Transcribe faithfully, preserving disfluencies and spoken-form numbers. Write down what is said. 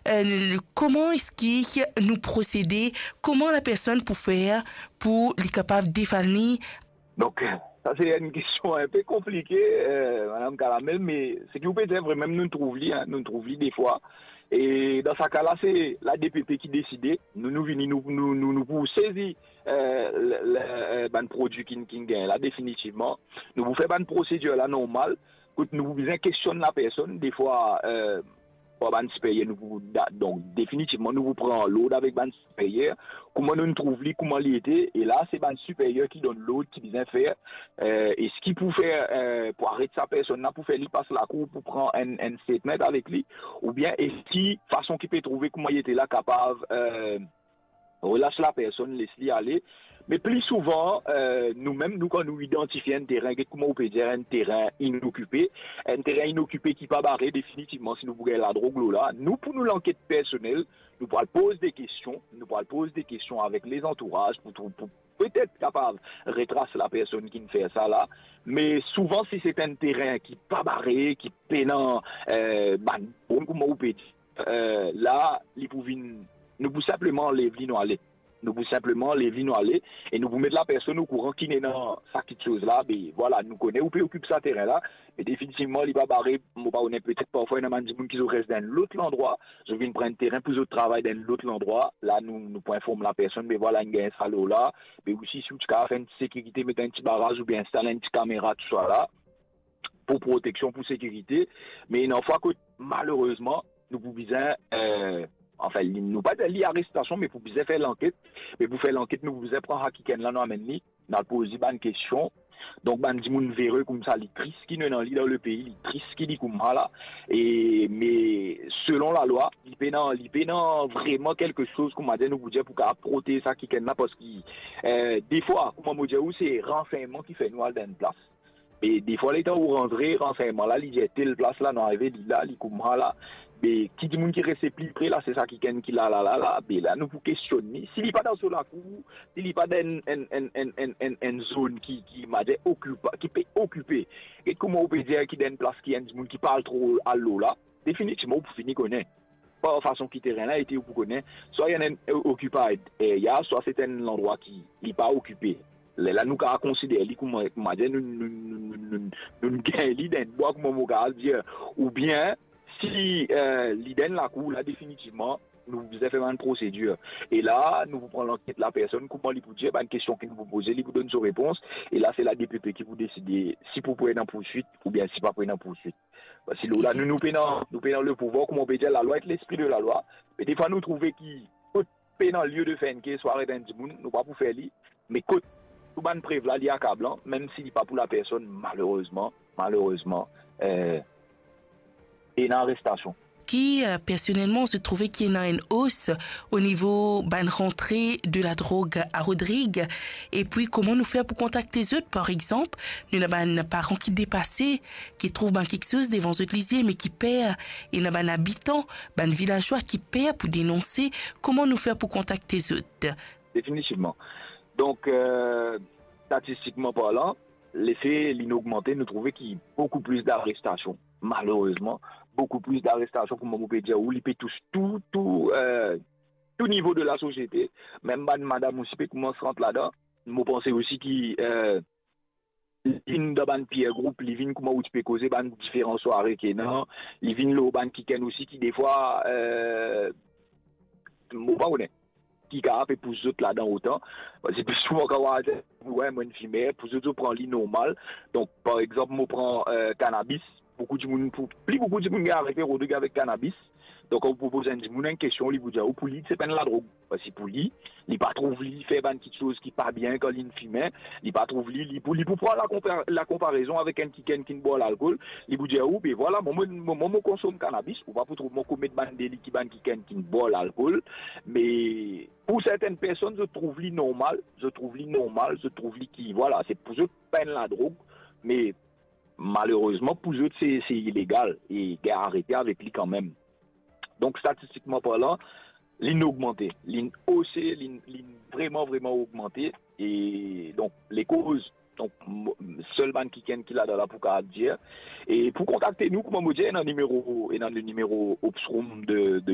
eh, kouma eski nou prosede, kouma lapersonn pou fer pou li kapav defann li? Donk, sa se enn kestion inpe konplike, eh, Madam Kalamel, me seki ou pe dir vre, mem nou trouv li, en, nou trouv li defwa. E dan sa ka la, se la D P P ki deside. Nou, nou vini, nou, nou, nou, nou pou sezi, eh, le, le, eh, bann prodwi ki, ki gagn la, definitivman. Nou pou fer bann prosedir la normal, kot nou pou bizin kestionn lapersonn, defwa, eh, par bann siperyer, nou pou da-, donk, definitivman, nou pou pran lord avek bann siperyer, kouma nou trouv li, kouma li ete, e la, se bann siperyer ki donn lord, ki bizin fer, eh, eski pou fer, eh, pou aret sa personn la, pou fer li pas lakour, pou pran enn, enn statement avek li, oubien eski fason ki pe trouve kouma li ete la kapav, eh, relas lapersonn, les li ale. Me pli souvan, eh, nou mem, nou, kan nou idantifie enn terin, get kouma ou pe dir, enn terin inokipe, enn terin inokipe ki pa bare, definitivman, si nou pou gagn ladrog lor la, nou, pou nou lanket personel, nou pou al poz de kestion, nou pou al poz de kestion avek lezantouraz pou, pou, pou petet kapav retras lapersonn ki'nn fer sa la. Me souvan, si se enn terin ki pa bare, ki pena, eh, bann bon, kouma ou pe dir, eh, la, li pou vinn, nou pou sinpleman lev li, nou ale. Nou pou sinpleman lev li, nou ale, e nou pou met lapersonn okouran ki ena sa kiksoz la. Be, vwala, nou kone ou pe okip sa terin la, me definitivman, li pa bare, mo pa kone, petet parfwa ena bann dimoun ki zot res dan enn lot landrwa, zot vinn pran enn terin pou zot travay dan enn lot landrwa. La, nou, nou pou inform lapersonn, be vwala, inn gagn sa lor la. Be osi, si ou ti kapav fer enn ti sekirite, met enn ti baraz oubien instal enn ti kamera, tousala, pou proteksion, pou sekirite. Me ena fwa kot, malerezman, nou pou bizin, eh, anfin, li, nou pa dir li arestasion, me pou bizin fer lanket. Me pou fer lanket, nou pou bizin pran sa kikenn la, nou amenn li, nou al poz li bann kestion. Donk, bann dimoun vere koumsa, li tris ki nou ena li dan lepei, li tris ki li koumsa la. E, me selon lalwa, li pena, li pena vreman kelke soz, kouma dir, nou pou dir, pou kapav protez sa kikenn la, parski, eh, defwa, kouma mo dir ou, se ransegnman ki fer nou al dan enn plas. E defwa, letan ou rantre, ransegnman la, li dir tel plas la, nou arive li la, li koumsa la. Be, ki dimoun ki reste pli pre la, se sa kikenn ki la, la, la, la. Be la, nou pou kestionn li. Si li pa dan so lakour, si li pa dan enn, enn, enn, enn, enn, enn, enn zone ki, ki, ma dir, okipa-, ki pe okipe. Get kouma ou pe dir ki dan enn plas ki enn dimoun ki pa al tro al lor la, definitivman, ou pou fini kone. Pa fason ki terin la ete, ou pou kone, swa li enn, enn occupied area, swa se enn landrwa ki li pa okipe. Lerla nou kapav konsider li kouma, kouma dir, nou, nou, nou, nou, nou, nou gagn li dan enn bwa, kouma mo kapav dir, oubien si, eh, li dan enn lakour la, definitivman, nou bizin fer bann prosedir. E la, nou pou pran lanket lapersonn, kouma li pou dir, bann kestion ki nou pou poze, li pou donn so repons. E la, se la D P P ki pou deside si pou, pou ena pourswit oubien si pa pou ena pourswit. Parski nou la, nou, nou pena, nou pena lepouvwar, kouma ou pe dir, lalwa ek lespri de lalwa. Me defwa, nou trouve ki kot pena lie de fer enn kes, swa aret enn dimoun, nou pa pou fer li. Me kot tou bann prev la, li akablan, mem si li pa pou lapersonn, malerezman, malerezman, eh, ena arestasion. Ki, eh, personelman, zot trouve ki ena enn os o nivo bann rantre de ladrog a Rodrig, epi kouma nou fer pou kontakte zot, par exanp, nou ena bann paran ki depase, ki trouv bann kiksoz devan zot lizie, me ki per, ena bann abitan, bann vilazwa ki per pou denonse, kouma nou fer pou kontakte zot? Definitivman. Donk, eh, statistikman parlan, lefe li'nn ogmante, nou trouve ki boukou plis darestasion, malerezman, boukou plis darestasion, kouma mo pe dir ou, li pe tous tou, tou, eh, tou nivo de lasosiete, mem bann madam osi pe koumans rant ladan. Mo panse osi ki, eh, li vinn dan bann peer group, li vinn kouma ou ti pe koze, bann diferan sware ki ena, li vinn lor bann kikenn osi ki defwa, eh, mo pa kone, ki kapav pe pous zot ladan otan. Parski pli souvan kan ou al dir, wi, mo enn fimer, pou zot, zot pran li normal. Donk, par exanp, mo pran, eh, kanabis, boukou dimoun pou, pli boukou dimoun gagn arete Rodrig avek kanabis. Donk, kan ou propoz enn dimoun enn kestion, li pou dir ou, pou li, se pa enn ladrog. Parski pou li, li pa trouv li fer bann kiksoz ki pa bien kan li'nn fime, li pa trouv li, li pou, li pou pran lakonpa-, lakonparezon avek enn kikenn ki'nn bwar lalkol, li pou dir ou, be vwala, mwa, mo, mo, mo, mo konsom kanabis, ou pa pou trouv mwa komet bann deli ki bann kikenn ki'nn bwar lalkol. Me pou sertenn personn, zot trouv li normal, zot trouv li normal, zot trouv li ki, vwala, se pou zot pa enn ladrog, me malerezman, pou zot, se, se ilegal e gagn arete avek li kanmem. Donk, statistikman parlan, li'nn ogmante, li'nn ose, li'nn, li'nn vreman, vreman ogmante. E donk, lekoz, donk, mo-, sel bann kikenn ki ladan la pou kapav dir. E pou kontakte nou, kouma mo dir, ena nimero, ena le nimero Opsroom de, de